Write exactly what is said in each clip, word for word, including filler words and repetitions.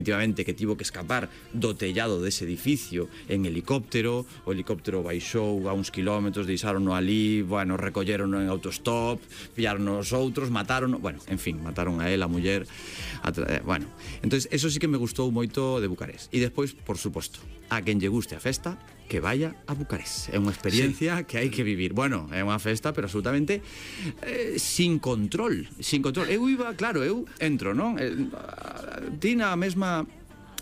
efectivamente que tivo que escapar do tellado dese edificio en helicóptero, o helicóptero baixou a uns kilómetros, deixarono ali, bueno, recollerono en autostop, pillaron os outros, mataron, bueno, en fin, mataron a él, a muller, a eh, bueno, entonces eso sí que me gustou moito de Bucarest. E despois, por suposto, a quen lle guste a festa, que vaya a Bucarest. É unha experiencia sí. que hai que vivir. Bueno, é unha festa, pero absolutamente eh, sin control, sin control. Eu iba, claro, eu entro, non? Eh, ti na mesma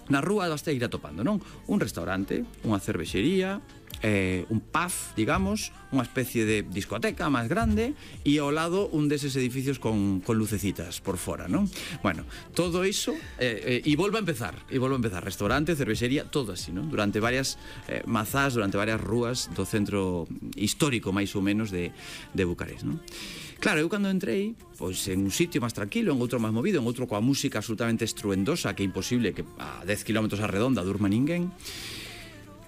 na rúa vas a ir atopando, non? Un restaurante, unha cervexería, eh, un pub, digamos, unha especie de discoteca máis grande e ao lado un deses edificios con, con lucecitas por fora, non? Bueno, todo iso eh, eh, e volvo a empezar, e volvo a empezar restaurante, cervexería, todo así, non? Durante varias eh, mazás, durante varias rúas do centro histórico máis ou menos de, de Bucarest, non? Claro, eu cando entrei, pois en un sitio máis tranquilo, en outro máis movido, en outro coa música absolutamente estruendosa, que é imposible que a dez kilómetros a redonda durma ninguén.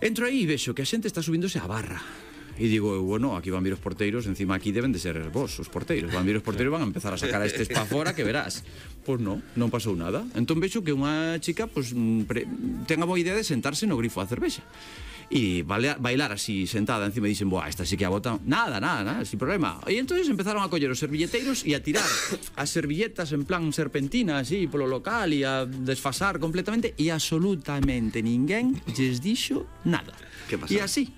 Entro aí e vexo que a xente está subíndose á barra. E digo, bueno, aquí van vir os porteiros, encima aquí deben de ser vos, os porteiros. Van vir os porteiros, van a empezar a sacar a estes pa fora, que verás. Pois non, non pasou nada. Entón vexo que unha chica, pois, ten a boa idea de sentarse no grifo a cervexa. E bailar así sentada encima e dicen, boa, esta sí que a botan. Nada, nada, nada, sin problema. E entonces empezaron a coller os servilleteiros e a tirar as servilletas en plan serpentina así polo local e a desfasar completamente e absolutamente ninguén lles dixo nada. Que pasa? E así.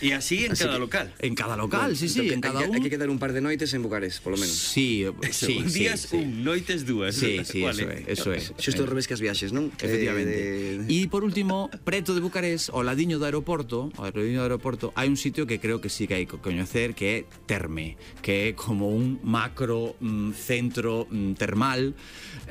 E así en así cada que, local. En cada local, bueno, sí, sí, en cada un. Hai que quedar un par de noites en Bucarest, polo menos. Sí, sí, un días sí, un, noites dúas. Sí, sí, eso é, eso é. Xusto ao revés que as viaxes, non? Efectivamente. E por último, preto de Bucarest, ao ladiño do aeroporto, ao ladiño do aeroporto, hai un sitio que creo que sí que hai que coñecer, que é Terme, que é como un macro mm, centro mm, termal,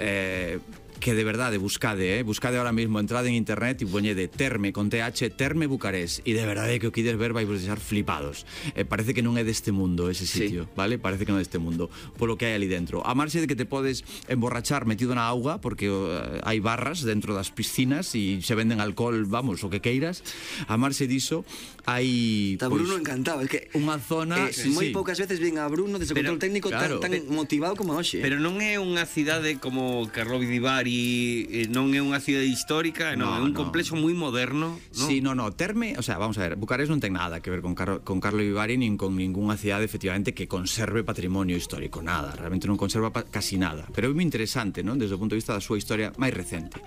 eh que de verdade buscade, eh? buscade ahora mismo, entrade en internet e poñede Terme con T H, Terme Bucarest, e de verdade que o quides ver vai vos deixar flipados. Eh, parece que non é deste mundo ese sitio, sí. Vale? Parece que non é deste mundo, polo que hai ali dentro. A marxe de que te podes emborrachar metido na auga, porque uh, hai barras dentro das piscinas e se venden alcohol, vamos, o que queiras. A marxe diso hai Está Bruno pues, encantado, es que unha zona, eh, sí, moi sí. poucas veces ven a Bruno desde o control técnico claro, tan, tan motivado como hoxe. Pero non é unha cidade como Karlovy Vary, non é unha cidade histórica, non, no, é un no. complexo moi moderno, non? Sí, no, no, Terme, o sea, vamos a ver, Bucarest non ten nada que ver con, Car con Karlovy Vary nin con ninguna cidade efectivamente que conserve patrimonio histórico, nada, realmente non conserva casi nada, pero é moi interesante, non? Desde o punto de vista da súa historia máis recente.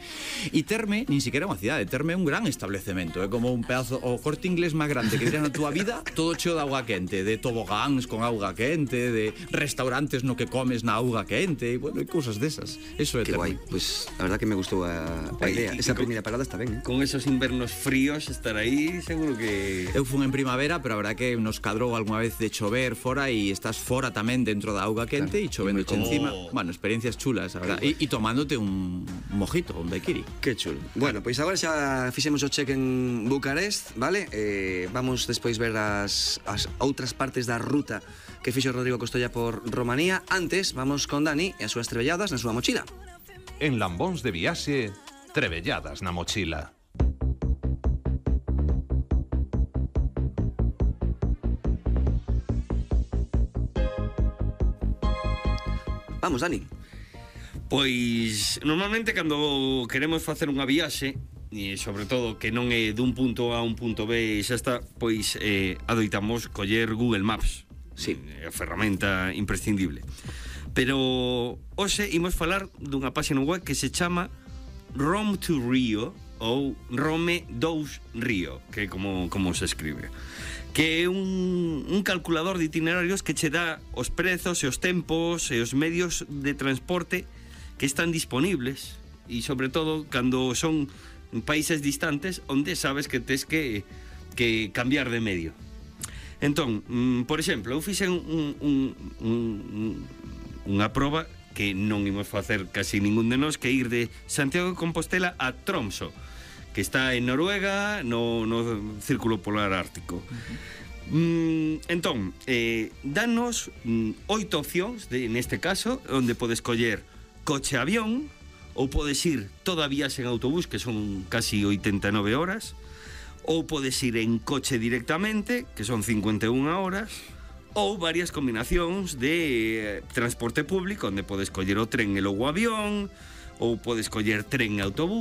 E Terme, nin siquiera é unha cidade, Terme é un gran establecemento, é como un pedazo, o Corte Inglés máis grande que tiras na túa vida, todo cheo de auga quente, de tobogáns con auga quente, de restaurantes no que comes na auga quente, e bueno, e cousas desas. Eso é que Terme. Guai, pues a verdad que me gustou a, a idea. Esa primeira parada está ben, eh? Con esos invernos fríos estar aí, seguro que... Eu fun en primavera, pero a verdad que nos cadrou algunha vez de chover fora e estás fora tamén dentro da auga quente e claro, chovendo oh. encima. Bueno, experiencias chulas, a verdad. E, e tomándote un mojito, un daiquiri. Que chulo. Bueno, pois agora xa fixemos o check en Bucarest, vale? Eh, vamos despois ver as, as outras partes da ruta que fixo Rodrigo Costolla por Romanía. Antes, vamos con Dani e as súas trebelladas na súa mochila. En Lambóns de viaxe, trebelladas na mochila. Vamos, Dani. Pois, normalmente cando queremos facer unha viaxe, e sobre todo que non é dun punto A a un punto B e xa está, pois eh, adoitamos coller Google Maps. Sí. É a ferramenta imprescindible. Pero hoxe imos falar dunha páxina web que se chama Rome to Rio ou Rome dous Rio, que é como, como se escribe, que é un, un calculador de itinerarios que che dá os prezos e os tempos e os medios de transporte que están disponibles e sobre todo cando son países distantes onde sabes que tes que, que cambiar de medio. Entón, mm, por exemplo, eu fixen un, un, un, unha proba que non imos facer casi ningún de nós, que ir de Santiago de Compostela a Tromsø, que está en Noruega, no, no Círculo Polar Ártico. Uh-huh. mm, entón, eh, danos mm, oito opcións, de, neste caso, onde podes coller coche-avión, ou podes ir toda a viaxe en autobús, que son casi oitenta e nove horas, ou podes ir en coche directamente, que son cincuenta e unha horas, ou varias combinacións de eh, transporte público, onde podes coller o tren e logo o avión, ou podes coller tren e autobús,